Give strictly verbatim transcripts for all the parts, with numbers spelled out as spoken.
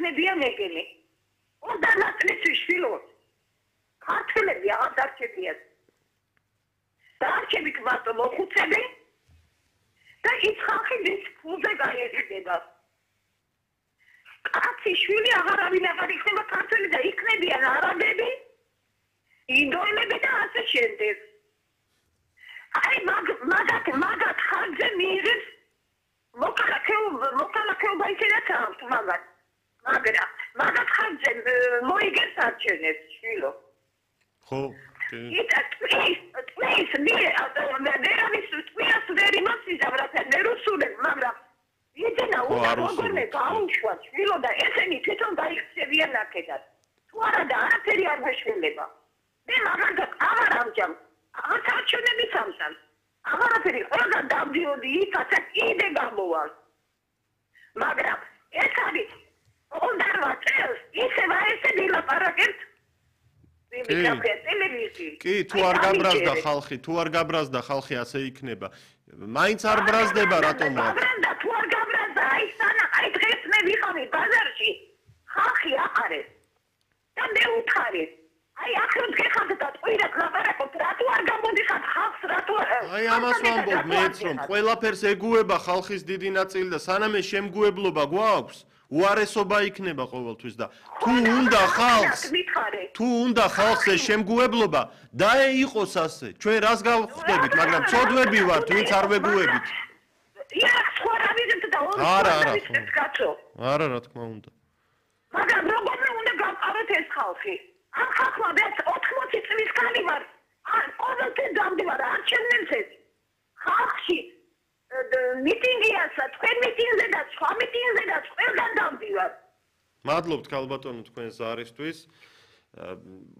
იქნებიან ეგენი. უნდა ნაწილისთვის შვილო. ქართველები აღარ დარჩებიან. დარჩებით მარტო მოხუცები და ის ხალხი ვის ფულზე გაიხდება. კაცი შვილი აღარავინ აღარ იქნება ქართველი და იქნებიან არაბები, ინდოელები და ასე შემდეგ. აი მაგათ მაგათ ხალხზე მიიღებს მოკალაქეობა ისედაც აქვს მაგათ. მაგრამ მაგათ ხალხზე მოიგებს არჩევნებს შვილო. ხო. იტა ტყის ტყის ვერავის ტყიას ვერ იმასიზა რათა ვერ უსულებ მაგრამ იდენა უგორნე გაუშვათ შვილო და ესენი თვითონ გაიქცევიან აქედან თუ არა და არაფერი არ მეშველება მე მაგალითად აღარ ამჯამ აღარ არჩევნები სამსამ აღარაფერი ყველგან დავდიოდი იქაც კიდე გამოვალ მაგრამ ეს არის ოცდაოთხ წელს ისევ ესე დილაპარაკებთ კი, თუ არ გაბრაზდა ხალხი, თუ არ გაბრაზდა ხალხი ასე იქნება. მაინც არ ბრაზდება რატომ? გაბრაზდა, თუ არ გაბრაზდა, აი სანა, აი დღეს მე ვიყავი ბაზარში, ხალხი აყარეს. და მე უთხარი. აი ახლა გეხავთ და ტყუილად ლაპარაკობთ, რატო არ გამოდიხარ ხალხს, რატო აი ამას ვამბობ მეც რომ ყველაფერს ეგუება ხალხის დიდი ნაწილი და სანამ ეს შემგუებლობა გვაქვს უარესობა იქნება ყოველთვის და თუ უნდა ხალხს თუ უნდა ხალხს ეს შემგუებლობა და იყოს ასე ჩვენ რას გავხდებით მაგრამ წოდვები ვართ ვინც არ ვეგუებით არა არა არა რა თქმა უნდა მაგრამ როგორ უნდა გავყავოთ ეს ხალხი ამ ხალხმა მეც ოთხმოცი წლის ხანი ვარ ან ყოველთვის დამდივარ არჩევნებზე ხალხში მიტინგიასაც, თქვენ მიტინგზე და სხვა მიტინგზე და ყველგან დავდივარ. მადლობთ ქალბატონო თქვენ ზარისთვის.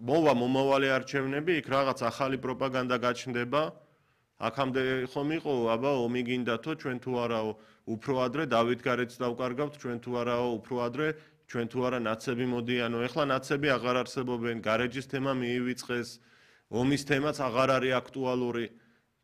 მოვა მომავალი არჩევნები, იქ რაღაც ახალი პროპაგანდა გაჩნდება. აქამდე ხომ იყო, აბა ომი გინდათო, ჩვენ თუ არაო უფრო ადრე დავით გარეთს დავკარგავთ, ჩვენ თუ არაო უფრო ადრე, ჩვენ თუ არა ნაცები მოდიანო. ეხლა ნაცები აღარ არსებობენ, გარეჯის თემა მიივიწყეს, ომის თემაც აღარ არის აქტუალური.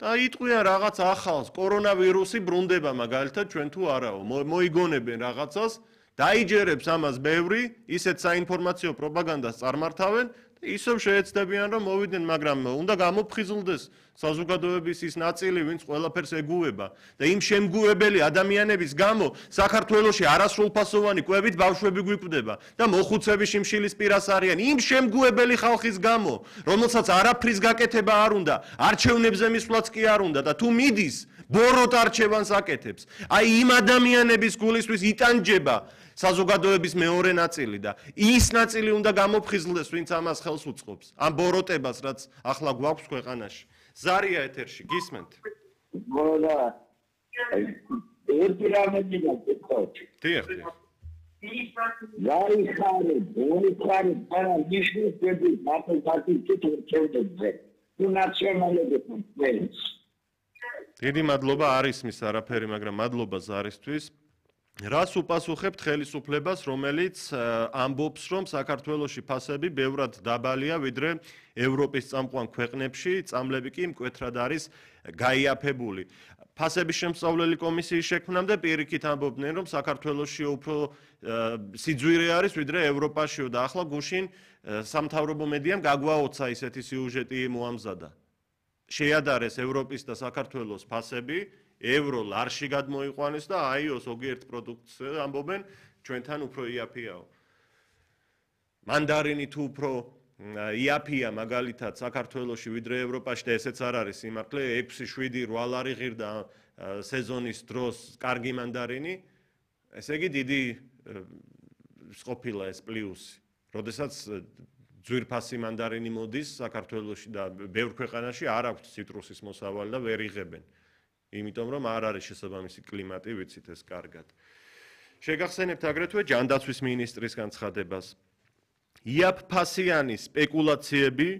და იტყვიან რაღაც ახალს, კორონავირუსი ბრუნდება მაგალითად ჩვენ თუ არაო, მოიგონებენ რაღაცას, დაიჯერებს ამას ბევრი, ისეთ საინფორმაციო პროპაგანდას წარმართავენ და ისევ შეეცდებიან რომ მოვიდნენ, მაგრამ უნდა გამოფხიზლდეს საზოგადოების ის ნაწილი, ვინც ყველაფერს ეგუება და იმ შემგუებელი ადამიანების გამო საქართველოში არასრულფასოვანი კვებით ბავშვები გვიკვდება და მოხუცები შიმშილის პირას არიან იმ შემგუებელი ხალხის გამო, რომელსაც არაფრის გაკეთება არ უნდა, არჩევნებზე მისვლაც კი არ უნდა და თუ მიდის, ბოროტ არჩევანს აკეთებს. აი იმ ადამიანების გულისთვის იტანჯება საზოგადოების მეორე ნაწილი და ის ნაწილი უნდა გამოფხიზლდეს, ვინც ამას ხელს უწყობს. ამ ბოროტებას, რაც ახლა გვაქვს ქვეყანაში. ზარია ეთერში, გისმენთ? მოდა ერთი რამე მიგაკეთოთ. დიახ, დიახ. ზარი ხარე, ორი ხარე, არა ნიშნის დები, მარტო პარტიით ჩევდებზე. თუ ნაციონალიზმის. დიდი მადლობა არ ისმის არაფერი, მაგრამ მადლობა ზარისთვის. რას უპასუხებთ ხელისუფლებას, რომელიც ამბობს, რომ საქართველოში ფასები ბევრად დაბალია, ვიდრე ევროპის წამყვან ქვეყნებში, წამლები კი მკვეთრად არის გაიაფებული. ფასების შემსწავლელი კომისიის შექმნამდე პირიქით ამბობდნენ, რომ საქართველოში უფრო სიძვირე არის, ვიდრე ევროპაშიო და ახლა გუშინ სამთავრობო მედიამ გაგვაოცა ისეთი სიუჟეტი მოამზადა. შეადარეს ევროპის და საქართველოს ფასები ევრო ლარში გადმოიყვანეს და აიო ზოგიერთ პროდუქტს ამბობენ ჩვენთან უფრო იაფიაო. მანდარინი თუ უფრო იაფია მაგალითად საქართველოში ვიდრე ევროპაში და ესეც არ არის სიმართლე ექვსი შვიდი რვა ლარი ღირდა სეზონის დროს კარგი მანდარინი ესე იგი დიდი ყოფილა ეს პლუსი. როდესაც ძვირფასი მანდარინი მოდის საქართველოში და ბევრ ქვეყანაში არ აქვს ციტრუსის მოსავალი და ვერ იღებენ. იმიტომ რომ არ არის შესაბამისი კლიმატი, ვიცით ეს კარგად. შეგახსენებთ აგრეთვე ჯანდაცვის მინისტრის განცხადებას. იაფფასიანი სპეკულაციები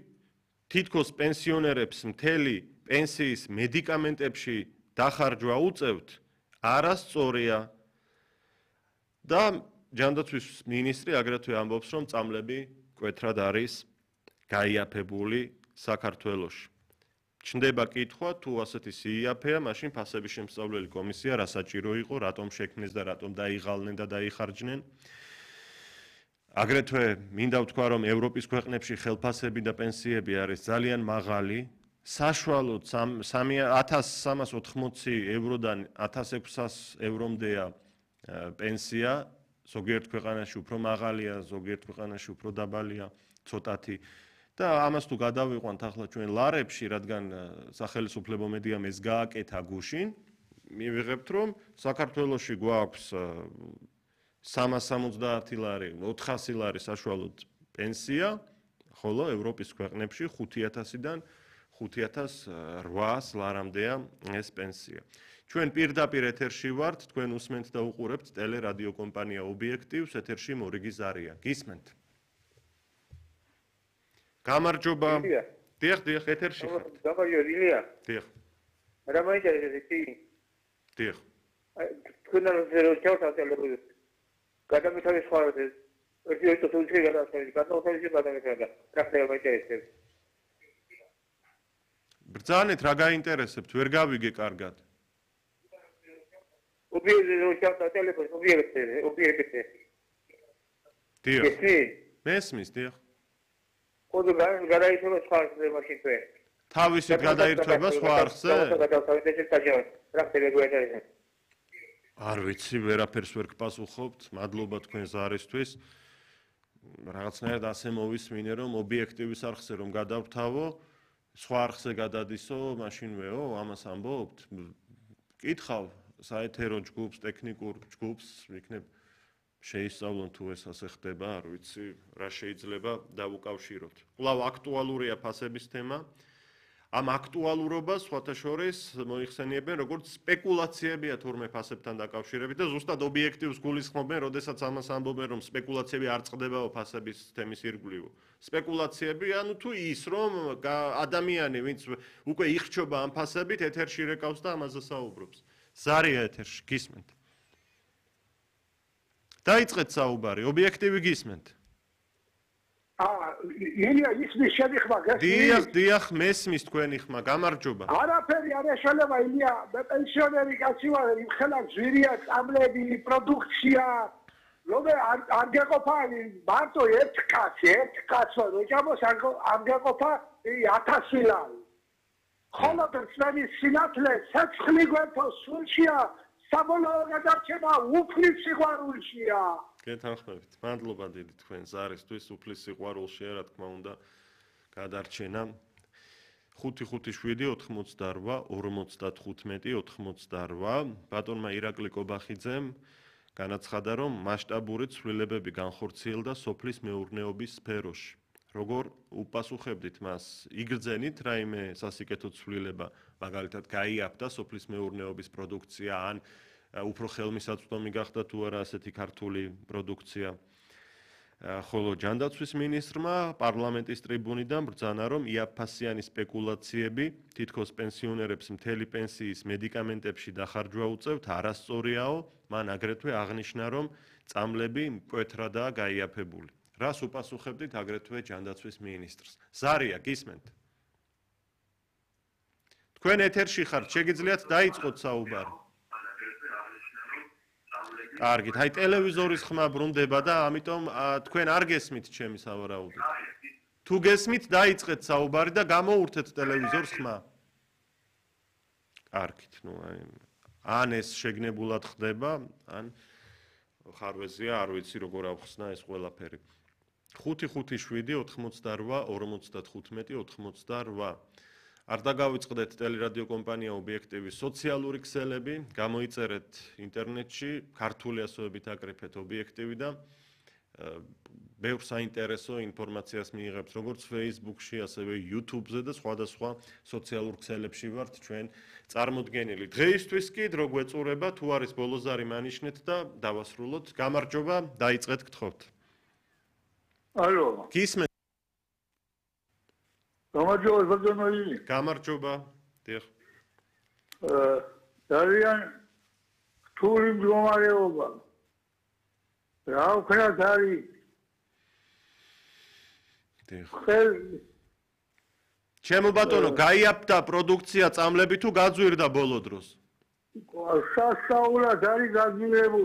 თითქოს პენსიონერებს მთელი პენსიის მედიკამენტებში დახარჯვა უწევთ, არასწორია. და ჯანდაცვის მინისტრი აგრეთვე ამბობს, რომ წამლები მკვეთრად არის გაიაფებული საქართველოში. ჩნდება კითხვა, თუ ასეთი სიიაფეა, მაშინ ფასების შემსწავლელი კომისია რა საჭირო იყო, რატომ შექმნეს და რატომ დაიღალნენ და დაიხარჯნენ. აგრეთვე მინდა ვთქვა, რომ ევროპის ქვეყნებში ხელფასები და პენსიები არის ძალიან მაღალი. საშუალოდ ათას სამას ოთხმოცი ევროდან ათას ექვსას ევრომდეა პენსია, ზოგიერთ ქვეყანაში უფრო მაღალია, ზოგიერთ ქვეყანაში უფრო დაბალია, ცოტათი. და ამას თუ გადავიყვანთ ახლა ჩვენ ლარებში, რადგან სახელმწიფო მედიამ ეს გააკეთა გუშინ, მივიღებთ, რომ საქართველოში გვაქვს სამას სამოცდაათი ლარი, ოთხასი ლარი საშუალოდ პენსია, ხოლო ევროპის ქვეყნებში ხუთი ათასიდან ხუთი ათას რვაას ლარამდეა ეს პენსია. ჩვენ პირდაპირ ეთერში ვართ, თქვენ უსმენთ და უყურებთ ტელერადიო კომპანია ობიექტივს, ეთერში მორიგი ზარია. გისმენთ? გამარჯობა. დიახ, დიახ, ეთერში ხართ. გამარჯობა, ილია. დიახ. რა მაინტერესებს კი? დიახ. თქვენ რომ ჩავთვალე გადამეთავის ხართ ეს ერთი ორი თუთი გადასწრებით, გადაუხადეთ გადამეთავდა. რა ხდება მაინტერესებს? ბრძანეთ, რა გაინტერესებთ? ვერ გავიგე კარგად. ობიექტზე რომ ჩავთვალე ტელეფონს, ობიექტზე, ობიექტზე. დიახ. ესმის? მესმის, დიახ. ხოდო გადაიწევა სხვა არხზე მაშინ თქვენ. თავისით გადაირთვება სხვა არხზე? გადავთავეთ ეს საჯარო. რა ხდება გვეინტერესებს? არ ვიცი, ვერაფერს ვერ გპასუხობთ. მადლობა თქვენ ზარისთვის. რაღაცნაირად ასე მოვისმინე, რომ ობიექტივის არხზე რომ გადავრთავო, სხვა არხზე გადადისო, მაშინვეო, ამას ამბობთ? კითხავ საეთერო ჯგუფს, ტექნიკურ ჯგუფს, იქნებ შეისწავლონ თუ ეს ასე ხდება, არ ვიცი, რა შეიძლება დავუკავშიროთ. კვლავ აქტუალურია ფასების თემა. ამ აქტუალურობას სხვათა შორის მოიხსენიებენ როგორც სპეკულაციებია თურმე ფასებთან დაკავშირებით და ზუსტად ობიექტივს გულისხმობენ, როდესაც ამას ამბობენ, რომ სპეკულაციები არ წყდებაო ფასების თემის ირგვლივ. სპეკულაციები, ანუ თუ ის, რომ ადამიანი, ვინც უკვე იხრჩობა ამ ფასებით, ეთერში რეკავს და ამაზე საუბრობს. ზარია ეთერში, გისმენთ? დაიწყეთ საუბარი, ობიექტივი გისმენთ? აა, ილია ისმის შენი ხმა გასმის? დიახ, დიახ, მესმის თქვენი ხმა, გამარჯობა. არაფერი არ ეშალება, ილია, მე პენსიონერი კაცი ვარ, იმხელა ძვირია, წამლები, პროდუქცია, რომე არ გეყოფა მარტო ერთ კაცი, ერთ კაცო, როჭამოს არ გეყოფა ათასი ლარი. ხოლო ძველი სინათლე ცეცხლი გვერდო სულშია, საბოლოო გადარჩება უფლის სიყვარულშია. გეთანხმებით. მადლობა დიდი თქვენ ზარისთვის, უფლის სიყვარულშია, რა თქმა უნდა, გადარჩენა. ხუთი ხუთი შვიდი ოთხმოცდარვა ორმოცდათხუთმეტი ოთხმოცდარვა. ბატონმა ირაკლი კობახიძემ განაცხადა, რომ მასშტაბური ცვლილებები განხორციელდა სოფლის მეურნეობის სფეროში. როგორ უპასუხებდით მას? იგრძენით რაიმე სასიკეთო ცვლილება, მაგალითად, გაიაფთა სოფლის მეურნეობის პროდუქცია ან უფრო ხელმისაწვდომი გახდა თუ არა ასეთი ქართული პროდუქცია. ხოლო ჯანდაცვის მინისტრმა პარლამენტის ტრიბუნიდან ბრძანა, რომ იაფფასიანი სპეკულაციები თითქოს პენსიონერებს მთელი პენსიის მედიკამენტებში დახარჯვა უწევთ არასწორიაო, მან აგრეთვე აღნიშნა, რომ წამლები მკვეთრადაა გაიაფებული. რას უპასუხებდით აგრეთვე ჯანდაცვის მინისტრს? ზარია, გისმენთ? თქვენ ეთერში ხართ, შეგიძლიათ დაიწყოთ საუბარი. კარგით, აი ტელევიზორის ხმა ბრუნდება და ამიტომ თქვენ არ გესმით ჩემი სავარაუდო. თუ გესმით, დაიწყეთ საუბარი და გამოურთეთ ტელევიზორს ხმა. კარგით, ნუ აი ან ეს შეგნებულად ხდება, ან ხარვეზია, არ ვიცი როგორ ავხსნა ეს ყველაფერი. ხუთი ხუთი შვიდი ოთხმოცდარვა ორმოცდათხუთმეტი ოთხმოცდარვა. არ დაგავიწყდეთ ტელერადიო კომპანია ობიექტივის სოციალური ქსელები, გამოიწერეთ ინტერნეტში, ქართული ასოებით აკრიფეთ ობიექტივი და ბევრ საინტერესო ინფორმაციას მიიღებთ, როგორც Facebook-ში, ასევე YouTube-ზე და სხვადასხვა სოციალურ ქსელებში ვართ ჩვენ წარმოდგენილი. დღეისთვის კი დრო გვეწურება, თუ არის ბოლო ზარი მანიშნეთ და დავასრულოთ. გამარჯობა, დაიწყეთ გთხოვთ. ალო. გისმენთ? გამარჯობა, ბრძანოი. გამარჯობა. დიახ. აა, ძალიან რთული მდგომარეობა. რა ვქნათ არის? დიახ. ხელ ჩემო ბატონო, გაიაფთა პროდუქცია წამლები თუ გაძვირდა ბოლო დროს? სასწაულად არის გაძვირებული.